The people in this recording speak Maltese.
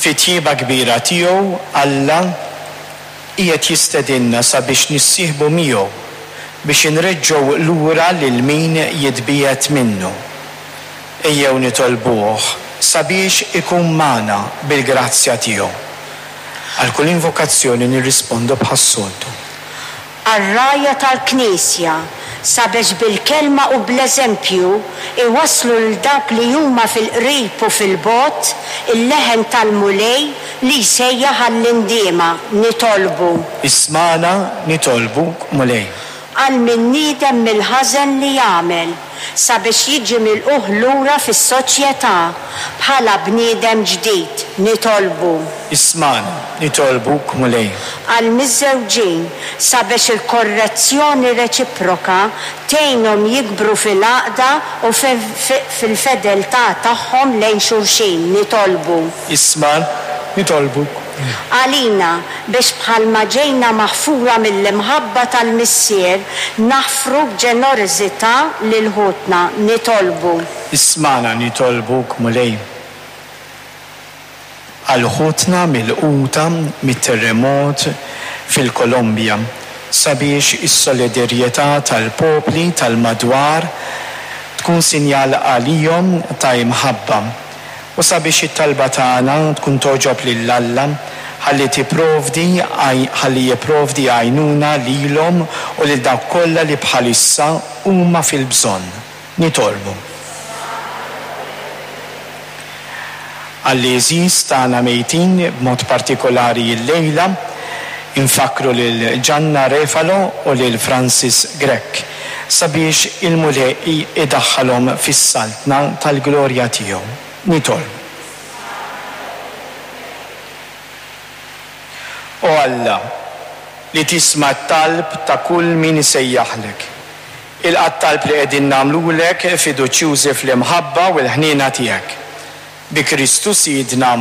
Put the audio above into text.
Fit-tjieba kbira tiegħu Alla qiegħed jistedinna sabiex nissieħbu miegħu biex inreġġgħu lura lil min jitbiegħed minnu. Ejjew nitolbuh sabiex ikun magħna bil-grazzja tiegħu. Għal kull invokazzjoni nirrispondu bħas-soltu. Għar-rgħajja tal-Knisja, sabiex bil-kelma u bl-eżempju jwasslu lil dawk li huma fil-qrib u fil-bogħod il-leħen tal-Mulej li jsejjaħ għall-indiema, nitolbu. Ismagħna, nitolbuk, Mulej. Għal min nidem mill-ħażen li għamel, sabiex jiġi milqugħ lura fis-soċjetà bħala bniedem ġdid, nitolbu. Ismagħna, nitolbuk, Mulej. Għall-miżżewġin, sabiex il-korrezzjoni reċiproka tgħinhom jikbru fil-għaqda u fil-fedeltà tagħhom lejn xulxin, nitolbu. Ismagħna, nitolbuk, Mulej. Għalina, biex bħalma ġejna maħfura mill-imħabba tal-Missier, naħfru b'ġenerożità lil ħutna, nitolbu. Ismagħna, nitolbuk, Mulej. Għal ħutna milquta mit-terremot fil-Kolombja, sabiex is-solidarjetà tal-popli tal-madwar tkun sinjal għalihom ta' imħabba, u sabiex it-talba tagħna tkun togħġob lil Alla ħalli tipprovdi ħalli jipprovdi għajnuna lilhom u lil dawk kollha li bħalissa huma fil-bżonn. Nitolbu. Għall-għeżież tagħna mejtin, b'mod partikolari llejla, infakkru lil Gianna Refalo u lil Francis Grech, sabiex il-Mulej idaħħalhom fis-Saltna tal-glorja tiegħu. Nitolbu. O Alla, li tisma' t-talb ta' kull min isejjaħlek, ilqa' t-talb li qegħdin nagħmlulek fiduċjużi fl-imħabba u l-ħniena tiegħek. Bi Kristu Sidna.